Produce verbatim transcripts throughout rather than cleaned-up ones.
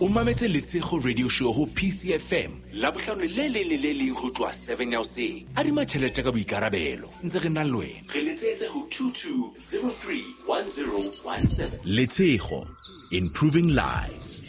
O mametse Letshego Radio Show ho P C F M Labohlano le leng le le leng ho tloha seven ya hoseng. Adima tjhelete ka boikarabelo, ntse re na le wena. Re letsetse ho two two zero three one zero one seven. Letshego, improving lives.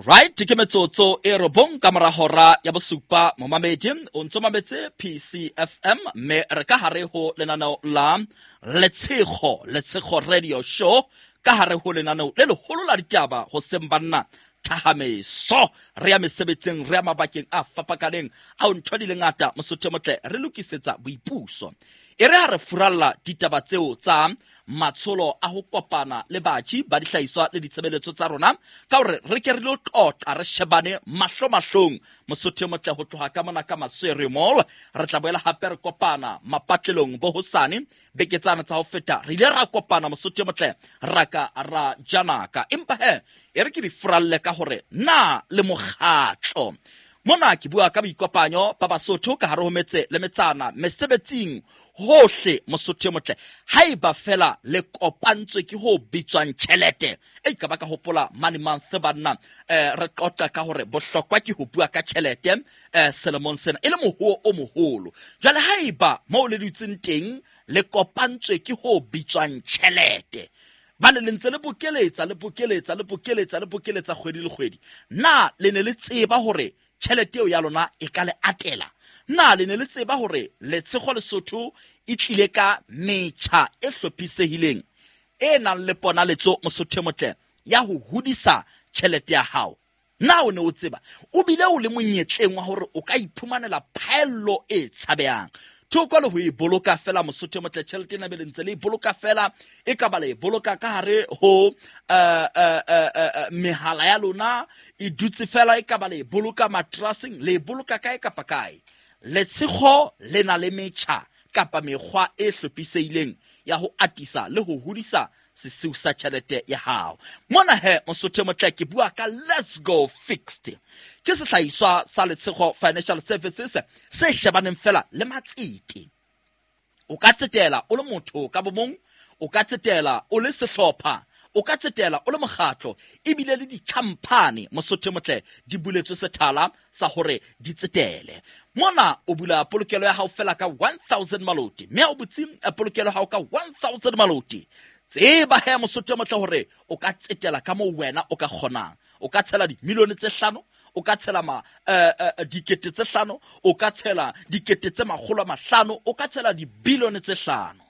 Right, ke metsotso e robong ka mora hora ya bosupa momamedi o ntso mametse P C F M mme re ka hare ho lenaneo la Letshego, Letshego Radio Show ka hare ho lenaneo le leholo la ditaba ho seng banna thahameso re ya mesebetsing re ya mabakeng a fapakaneng a ntho di le ngata Mosotho motle re lokisetsa boipuso. E re ha re furalla ditaba tseo tsa matsholo a ho kopana le batjhi ba dihlahiswa le ditshebeletso tsa rona ka hore re ke re lo tlotla re shebane mahlo mahlong Mosotho motle ho tloha ka mona ka Maswere Mall. Re tla boela hape re kopana mapatlelong bo hosane beke tsana tsa ho feta re ile ra kopana Mosotho motle ra ka ra janaka empa he e re ke di furalle ka hore na le mokgatlo mona ke bua ka boikopanyo ba Basotho ka hare ho metse le metsana mesebetsing hohle Mosotho motle haeba fela le kopantswe ke ho bitswang tjhelete e ka ba ka hopola money month banna eh re qoqa ka hore bohlokwa ke ho bua ka tjhelete eh selemong sena e le mohuo o moholo. Jwale haeba mo le dutseng teng le kopantswe ke ho bitswang tjhelete ba le ntse le bokeletsa le bokeletsa le bokeletsa le bokeletsa kgwedi le kgwedi, na le ne le tseba hore tjhelete eo ya lona e ka le atela? Na le ne le tseba hore Letshego Lesotho e tlile ka metjha e hlophisehileng e nang le ponaletso Mosotho motle ya ho hodisa tjhelete ya hao? Na o ne o tseba o bile o le monyetleng wa hore o ka iphumanela phaello e tshabehang thoko le ho e boloka fela Mosotho motle? Tjhelete ena be le ntse le e boloka fela e ka ba le e boloka ka hare ho eh eh mehala ya lona e dutse fela, e ka ba le e boloka matraseng, le e boloka kae kapa kae. Letshego le na le metjha kapa mekgwa e hlophisehileng ya ho atisa le ho hodisa sesiu sa tjhelete ya hao. Mona he Mosotho motle ke bua ka Let's Go Fixed. Ke sehlahiswa sa Letshego Financial Services se shebaneng fela le matsete. O ka tsetela o le motho ka bomong, o ka tsetela o le sehlopha, o ka tsetela o le mokgatlo, ebile le di-company Mosotho motle di buletswe sethala sa hore di tsetele. Mona o bula polokelo ya hao fela ka one thousand maloti, mme o butse polokelo ya hao ka one thousand maloti. Tseba he Mosotho motle hore o ka tsetela ka moo wena o ka kgonang. O ka tshela dimilione tse hlano, o ka tshela ma eh dikete tse hlano, o ka tshela dikete tse makgolo a mahlano, o ka tshela dibilione tse hlano.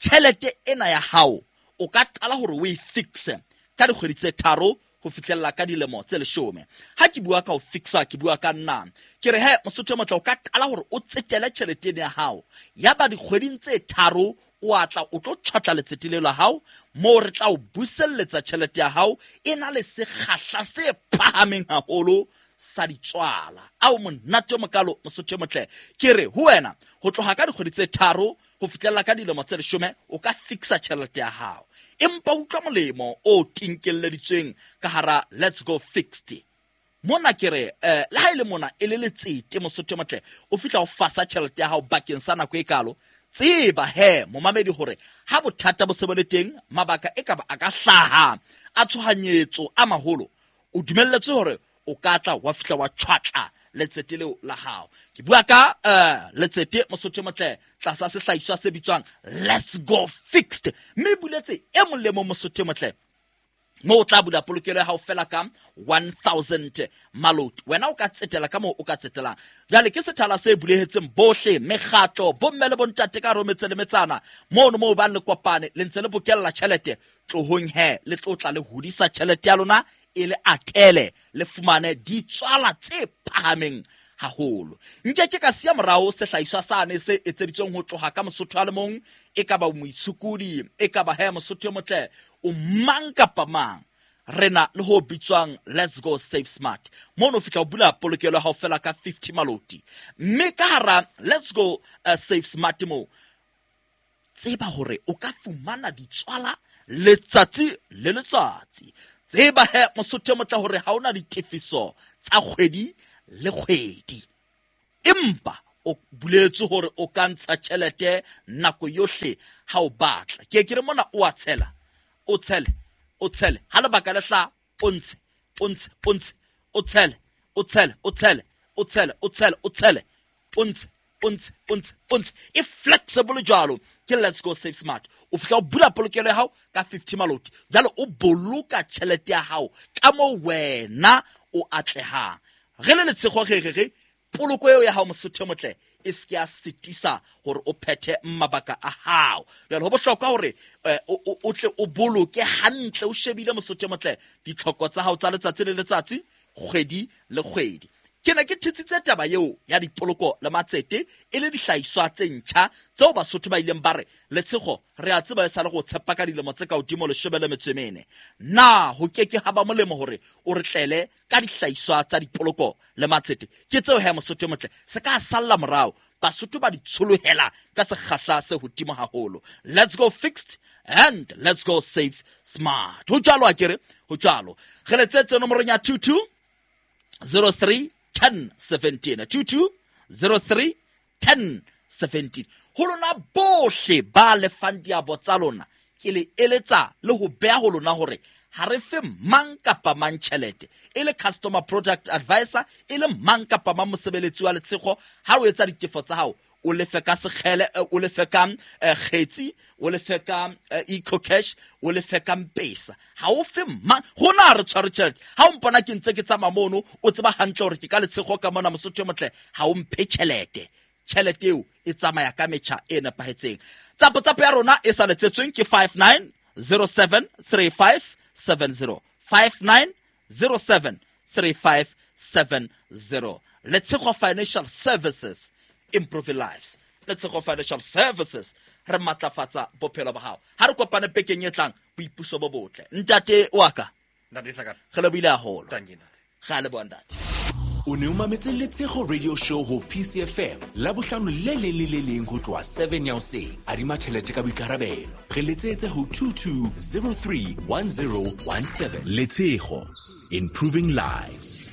Tjhelete ena ya hao o ka qala hore o e fixe ka dikgwedi tse tharo ho fihlella ka dilemo tse leshome. Ha ke bua ka ho fixa ke bua ka nna. Ke re he Mosotho motle o ka qala hore o tsetele tjhelete ena ya hao. Ya ba dikgweding tse tharo o atla o tlo tjhatla letsete leo la hao moo re tla o buselletsa tjhelete ya hao e na le sekgahla se phahameng haholo sa ditswala. Ao monate o mokalo Mosotho motle. Ke re ho wena ho tloha ka dikgwedi tse tharo ho fihlella ka dilemo tse leshome o ka fixa tjhelete ya hao. Empa utlwa molemo o tinkelleditsweng ka hara Let's Go Fixed. Mona ke re eh le ha ile mona e le letsete Mosotho motle o fihla o fasa tjhelete ya hao bakeng sa nako e kalo. Tseba he momamedi hore ha bothata bo se bo le teng mabaka e ka ba a ka hlaha a tshohanyetso a maholo o dumelletswe hore o ka tla wa fihla wa tjhwatla letsete leo la hao. Ke bua ka eh letsete Mosotho motle tlasa sehlahiswa se bitswang Let's Go Fixed, mme buletse e mong le mong Mosotho motle mo o tla bula polokelo ya hao fela ka one thousand maloti. Wena o ka tsetela ka moo o ka tsetelang. Jwale ke sethala se bulehetseng bohle mekgatlo bomme le bontate ka rometse le metsana mono moo ba le kopane le ntse le bokella tjhelete tlohong he le tlotla le hodisa tjhelete ya lona e le atele le fumane ditswala tse phahameng haholo. Nke ke ka siya morao sehlahiswa sane se etseditsweng ho tloha ka Mosotho a le mong, e ka ba moitshokodi, e ka ba he Mosotho motle o mang kapa mang. Re na le ho bitswang Let's Go Save Smart. Mono fihla o bula polokelo ya hao fela ka fifty maloti. Mme ka hara Let's Go uh, Save Smart mo tseba hore o ka fumana ditswala letsatsi le letsatsi. Tseba he Mosotho motle hore ha ona ditefiso tsa kgwedi le kgwedi. Empa o buletse hore o ka ntsha tjhelete nako yohle ha o batla. Ke ke re mona o a tshela, o tshele o tshele. Ha lebaka le hlaha, o ntshe, o ntshe, o ntshe, o tshele, o tshele, o tshele, o tshele, o tshele, o tshele, o ntshe, o ntshe, o ntshe, o ntshe. E flexible jwalo ke Let's Go Save Smart. O fihla o bula polokelo ya hao ka fifty maloti. Jwale o boloka tjhelete ya hao ka moo wena o atlehang. Re le Letshego re re re poloko eo ya hao Mosotho e motle e se ke ya sitisa hore o phethe mabaka a hao. Jwale ho bohlokwa hore o tle o boloke hantle, o shebile Mosotho e motle ditlhoko tsa hao tsa letsatsi le letsatsi, kgwedi le kgwedi. Ke ne ke thetsitse taba eo ya dipoloko le matsete e le dihlahiswa tse ntjha tseo Basotho ba ileng ba re Letshego re a tseba e sa le go tshepa ka dilemo tse ka hodimo leshome le metso e mene. Na ho ke ke ha ba molemo hore o re tlele ka dihlahiswa tsa dipoloko le matsete? Ke tseo he Mosotho e motle, se ka salla morao. Basotho ba di tsholohela ka sekgahla se hodimo haholo. Let's go fixed and let's go save smart. Ho jwalo akere, ho jwalo. Re letsetse nomorong ya two two zero three ten seventeen, two two zero three ten seventeen. Ho lona bohle ba lefang diabo tsa lona, ke le eletsa le ho beha ho lona hore ha re fe mang kapa mang tjhelete. E le customer product advisor, e le mang kapa mang mosebeletsi wa Letshego, ha o etsa ditefo tsa hao, o lefe ka sekgele, o lefe ka kgetsi, o lefe ka EcoCash, o lefe ka M-Pesa. Ha o fe mang, rona re tshware tjhelete. Ha o mpona ke ntse ke tsamaya mono, o tseba hantle hore ke ka Letshego ka mona Mosotho e motle, ha o mphe tjhelete. Tjhelete eo e tsamaya ka metjha e nepahetseng. Tsapo tsapo ya rona e sa letsetsweng ke five nine zero seven three five seven zero, five nine zero seven three five seven zero. Letshego Financial Services, improving lives. Letshego Financial Services, re matlafatsa bophelo ba hao. Ha re kopane bekeng e tlang, boipuso bo botle. Ntate wa ka. Ntate Sakata. Re lebohile haholo. Thank you, ntate. Re a leboha, ntate. O ne o mametse Letshego Radio Show ho P C F M Labohlano le leng le le leng ho tloha seven ya hoseng. Adima tjhelete ka boikarabelo. Re letsetse ho two two zero three one zero one seven. Letshego, improving lives.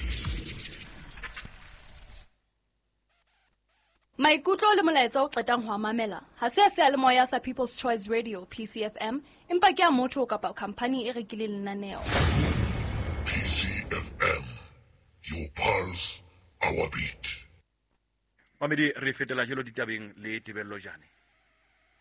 Maikutlo le molaetsa o qetang ho mamela ha se a seyalemoya sa People's Choice Radio P C F M, empa ke a motho kapa company e rekileng lenaneo. P C F M, your pulse, our beat. Mamedi, re fetela jelo ditabeng le Tebello Jane.